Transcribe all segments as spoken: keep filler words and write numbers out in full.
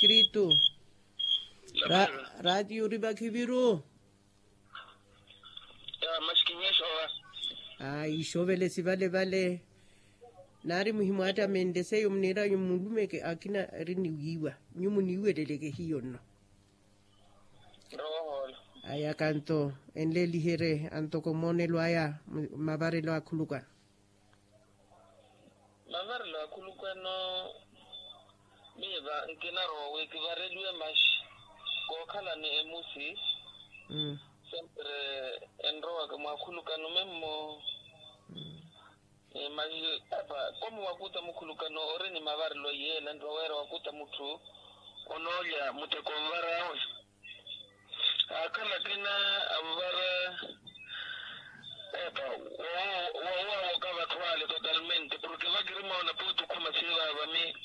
Kristu. Raatiyo ori vakhiviru. Aa ixovele sivale vale. Naari muhimwaattamenle seiyo muniiranyu mulumeke akina eri niwiiwa. Nyu muniiweleleke hiyo nno. Aya kanto enleeliherye antoko mmoonelo aya. Mavarelo akhulukano. Mavarelo akhulukano. Miiva nkinarowa wi kivareliwe maxi kookhala ni emusi. Sempre enrowaka mwakhulukano memmo. Mahi epa komu wakuta mukhulukano ori ni mavarelo yeela nto waweera wakuta mutthu onoolya muteko nvarawe. Akhala akina anvara epa woowawoka vatthu ale totalmente porke vakirimoona pooti okhuma siivava mi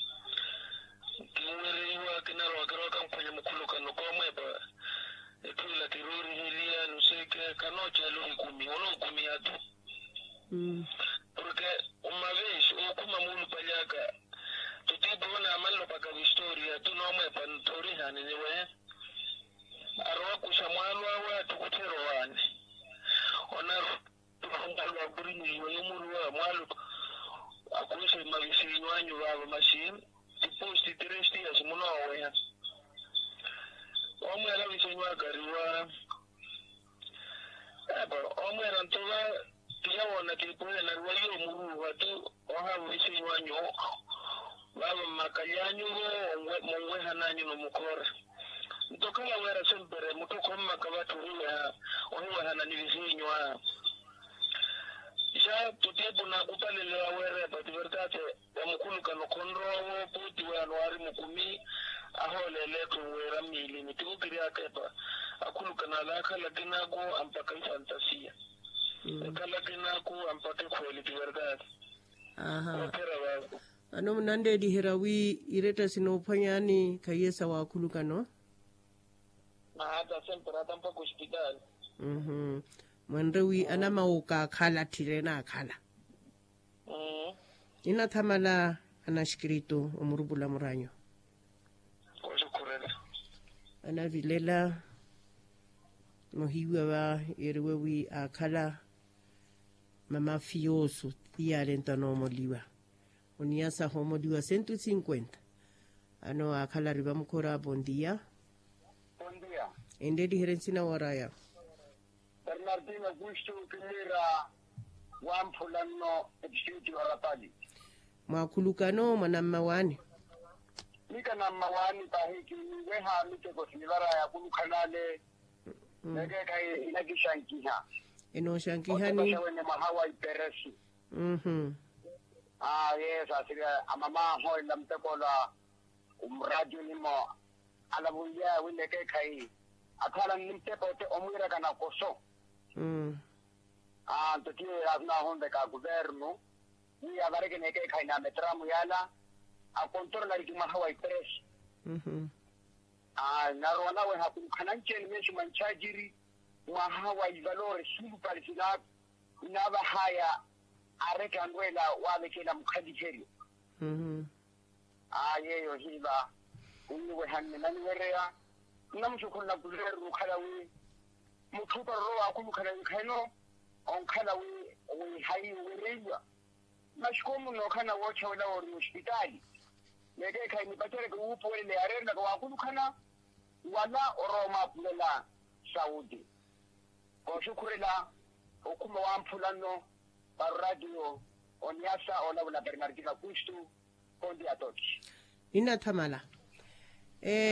kinwereiwa kinarowa kirowa kamphwanya mukhulukano koomwepa. Etthu ila kirooriheliya nuseeke khanooceela ohikumi onookumiha-tho. Porke omaveexi ookhuma muulupalyaka tutiipo onaamanlopaka vistoriya tunoomwepa nthoorihani ni wehe. Arowa kuxa mwaalo awe attukutthe erowani. Onarowa mwaalo akurinyihiwa yomuruwa mwaalo akuxa mavisiinyo anyu vaavo maxi tiposti tresti ya simunooweha. Omweera visenyu akariwa. Epa omweera nto va tiyawoona kiipuhela nariwa yoomuruuha tu. Ohaavo visenyu anyu vaavo mmakalyaanyuvo. Munwehananyu nomukhoora nto okhala weera sempere mutthu okhommaka vatthu ohiwehana ni visenyu aa. Xa tutiipu naakupalele waweera epa ti vertase. Omukhulukano khonrowa-wo puutiwe anuwaari mukumi ahooleele etthu nweera mmiilini tivo kiri akepa. Akhulukano ale akhala akinaku ampakha ifantasiya. Ekhala akinaku ampakha ekhweeli ti verdade. Aaha. Vano munanleeliherya wi iretta sinoophwanyaani khahiye sa waakhulukano. Mahatta sempera tampaka ospitaali. Mwenre wi anamawuka akhala atthire naakhala. Ninathamala anaxikritu omurupula muranyu. Anavilela nohiiwa va yeeriwe wi aakhala mama fiyoosu. Ti yaale nto anoomoliwa oniya sahoomoliwa sentu cinkwenta. Ano aakhala ari vamukhora pontiya. Enleeliherye nsina wooraya. Bernardino kustu kimira wamphula nno. Episiti wa rapali. Mwakhulukano mwanammawaani. Mika nammawaani pahi kiniweha miteko sinivaraya akhulukhanale. Nekeekhayi inakixankiha. Enooxankihani. Wene mwaha wa iperesi. Aye saasirya amama ahoolela mutekolo a muraati onimo. Alavunlyaya wi nekeekhayi akhala ni mutepa ote omwiirakana koso. Anto tiyo yaasuna ahunveka akuvernu wi avareke nekeekhayi na metramu yala akontorolari kimwaha wa ipresi. Narowa naweha khulukhananci-ene meexi mwa nchajiri mwaha wa ivalori suulupali sinaavahaya. Areke anrweela waavekela mukhaliheryo. Aa yeeyo hiiva oniwehanne naniwereya nnamuxukhulula kuvernu okhala wi mutthu oparorwa waakhulukhana nkhayino onkhala wi wi hayi owereiwa. Maxikomu nookhala woochawela woori ospitaali nekeekhayi nipacereke wuupuwelela yaareerelaka waakhulukhana wala orowa omwaapulela. Saudi kooxukhurela okhuma wamphula nno. Paroratiyo oniyasa olavula bernardino augusto. Konti ya toki. Ninathamala.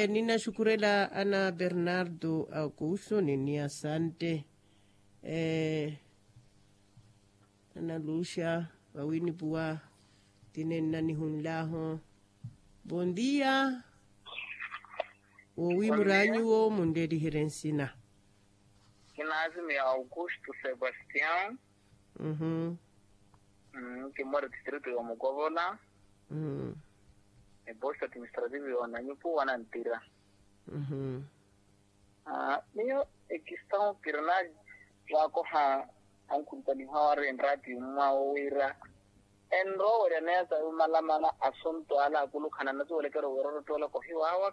Ninaxukhurela ana bernardo augusto ni niyasante. Nanaluxa vawiinipuwa tinenna nihunlaaho. Vontiya. Woowi muraanyuwo munleeliherye nsina. Kinaazimiya augusto sebastian. Kimmora distrito ya omukovola. Eposto administrativo ya onanyu puwa nantira. Miyo ekistão kirnal. Waakoha ankhulupaliha wari enrati mmwawo wira enrowerya neya sawi malamala asunto ala akulukhana nasuwelekera owerorottola kohiwawa.